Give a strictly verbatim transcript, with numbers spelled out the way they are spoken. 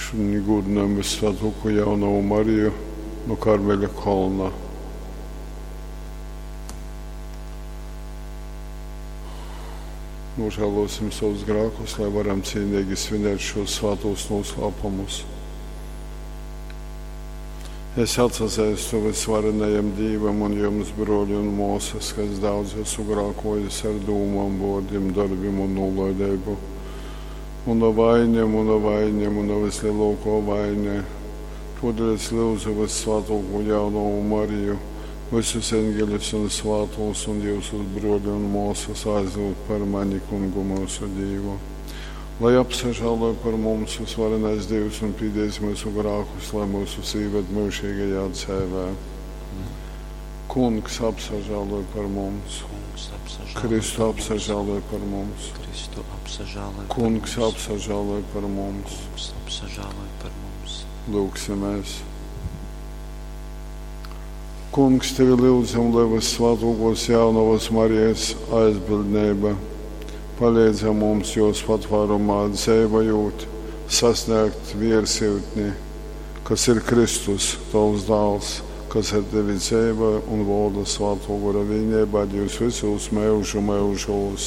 Šudiņ gūdynojam Vyssvātuokū Jaunovu Mariju nu Karmeļa kolna. Nožēlosim savus grēkus, lai varam cīnīgi svinēt šos svātos noslēpumus. Es atsazeistu vysvarenajam Dīvam un jums, bruoļi un muosys, ka es daudz esmu grākojis ar dūmom, vuordim, dorbim un nūlaideibu. Muna vaine, muna vaine, muna vislielākā vaine. Todēļ es lūdzu Vyssvātāko Jaunavu Mariju, visus eņģeļus un svātos un jūsus bruoļi un muosys aizlūgt par mani Kungu myusu Dīvu. Lai apsažāloj par mums vysvarenais Dīvs un pīdēs myusu grākus, lai myusus īved myužīgajā dzēvē. Kungs apsažāloj par mums. Kungs apsažāloj Kristu par mums. apsažāloj par mums. Kristu apsažāloj par Kungs mums. apsažāloj par mums. Kungs apsažāloj par mums. Lūgsimies. Kungs, tevi lūdzam, lai Vyssvātākos Jaunavas Marijas aizbildnība palīdz mums jos patvārumā dzeivojot, sasniegt viersyutni, kas ir Kristus, tavs dāls, kas ar tevi dzeivoja un valda Svātō Gora vīneibā Dīvs visos myužu myužūs.